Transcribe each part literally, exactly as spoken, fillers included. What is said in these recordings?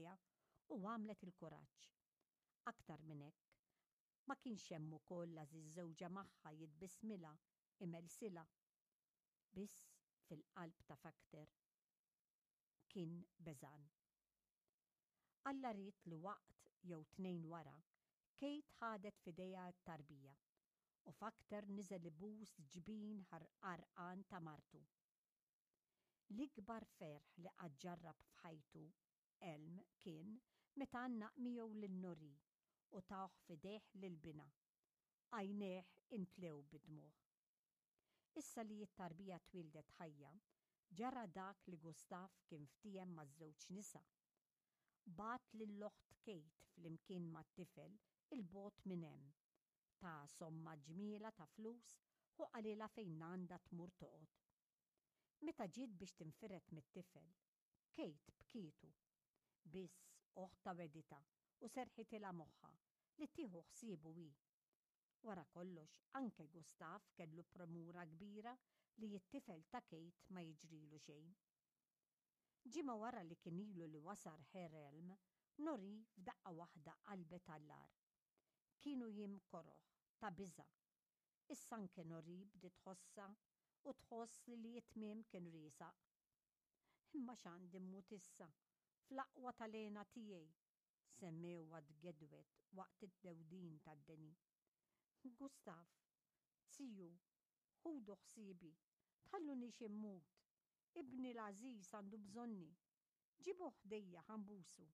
għaliha u għamlet il-kuraġġ. Aktar minn hekk, ma kienx hemm ukoll l-għażiż żewġha magħha jitbissmilha, imelsilha. Biss fil-qalb ta' Fakter kien beżgħan. Alla ried li waqt jew tnejn wara, Kate ħadet f'idejha t-tarbija u Fakter niżel ibus ġbin għarqan ta' martu. L-ikbar ferħ li qatt ġarrab f'ħajtu Elm kien meta għannaq miegħu lil Nori u tah f'idejh lil binha. Għajnejh imtlew bid-dmugħ. Issa li t-tarbija twildet ħajja, ġara dak li Gustav kien ftiehem maż-żewġ nisa. Bagħat lill-oħt Kate flimkien mat-tifel 'il bogħod minn hemm. Ta somma ġmiela ta' flus u qalilha fejn għandha tmur toqgħod. Meta ġiet biex tinfired mit-tifel, Kate bkietu. Biss oħtha wegħditha u serħitilha moħħha li tieħu ħsiebu hi. Wara kollox, anke Gustav kellu premura kbira li t-tifel ta' Kate ma jiġrilu xejn. Ġimgħa wara li kien ilu li wasal Herr Elm, Nori f'daqqa waħda qalbet għall-agħar. Kienu jiem koroh, ta' biża'. Issa anke Nori bdiet tħossha u tħoss li t-tmiem kien riesaq. Imma x'għandi mmut issa, fl-aqwa tal-hena tiegħi, semmewha tgedwed waqt id-dewdin tad-deni. Gustav, ziju, ħudu ħsiebi, tħallunix immut, ibni l-għażiż għandu bżonni, ġibuh ħdejja ħa nbusu.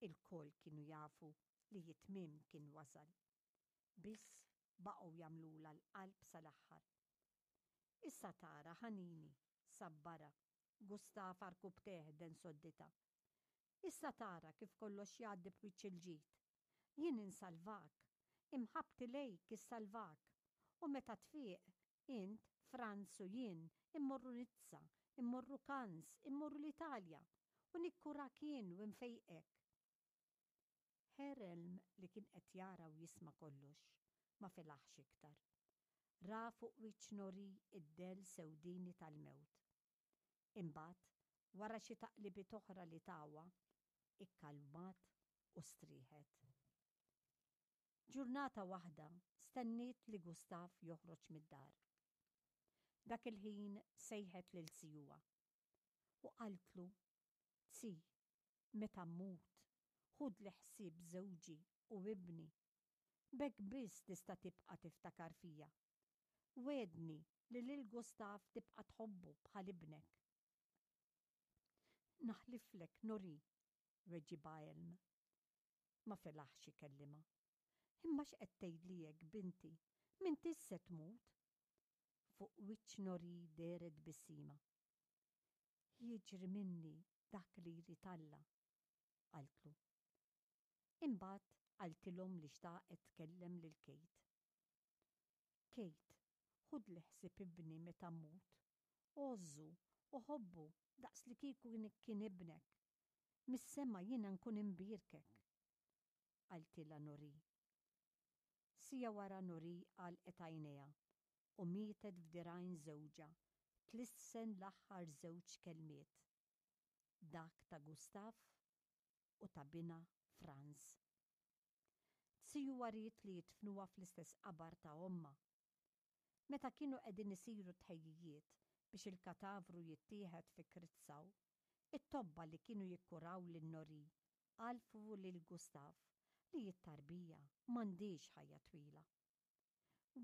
Ilkoll kienu jafu li t-tmiem kien wasal. Biss baqgħu jagħmlulha l-qalb sal-aħħar. Issa tara ħanini, sabbarha, Gustav għarkupptejh ħdejn sodditha. Issa tara kif kollox jgħaddi b'wiċċ il-ġid. Jien insalvak, imħabbti lejk issalvak. U meta tfiq, int, Franz u jien, immorru Nizza, immorru Cannes, immorru l-Italja, u nikkurak jien u nfejqek. Herr Elm li kien qed jara u jisma' kollox, ma felaħx iktar. Ra fuq wiċċ Nori id-dell sewdini tal-mewt. Imbagħad, wara xi taqlibiet oħra li tawha, ikkalmat u strieħet. Ġurnata waħda stenniet li Gustav joħroġ mid-dar. Dak il-ħin sejħet lil zijuha u qaltlu, "Zi, meta mmut, ħudli ħsieb żewġi u ibni. B'hekk biss tista' tibqa' tiftakar fija. Wegħedni li lil Gustav tibqa' tħobbu bħal ibnek." Naħliflek, Nori, weġibha Elm. Ma felaħx ikellimha. Imma x'qed tgħidli hekk, binti? M'intix se tmut? Fuq wiċċ Nori dehret tbissima. Jiġri minni dak li jrid Alla, qaltlu. Imbagħad qaltilhom li xtaqet tkellem lil Kate. Kate, ħudli ħsieb ibni meta mmut. Għożżu u ħobbu daqs li kieku kien ibnek. Mis-sema jiena nkun imbierkek. Qaltilha Nori. Siegħa wara Nori għalqet għajnejha u mietet f'dirgħajn żewġha tlissen l-aħħar żewġ kelmiet. Dak ta' Gustav u ta' binha Franz. Zijuha ried li jidfnuha fl-istess qabar ta' ommha. Meta kienu qegħdin isiru tħejjijiet biex il-katavru jittieħed fi Kreuzau, it-tobba li kienu jikkuraw lil Nori għarrfu lil Gustav li t-tarbija m'għandhiex ħajja twila.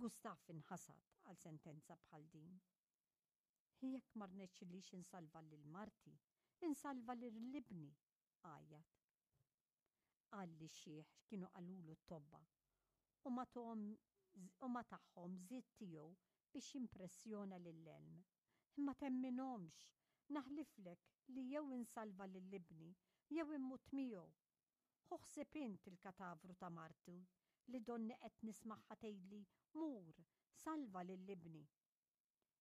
Gustav inħasad għal sentenza bħal din. Jekk ma rnexxilix insalva lil marti, insalva lil ibni, għajjat. Qal lix-xiħ x'kienu qalulu t-tobba u ma u ma tagħhom żied tiegħu biex jimpressjona lil Elm. Imma temminhomx, naħliflek li jew insalva lil ibni jew immut miegħu. Ħu ħsieb int il-katavru ta' marti li donni qed nismagħha tgħidli mur, salva lil ibni.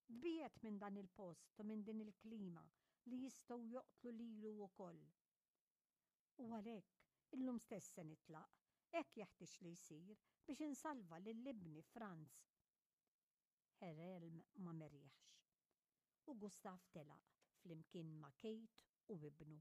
Tbiegħed minn dan il-post u minn din il-klima li jistgħu joqtlu lilu wkoll. U għalhekk illum stess se nitlaq, hekk jeħtieġ li jsir biex insalva lil ibni Franz. Herr Elm ma merieħx. U Gustav telaq flimkien ma' Kate u ibnu.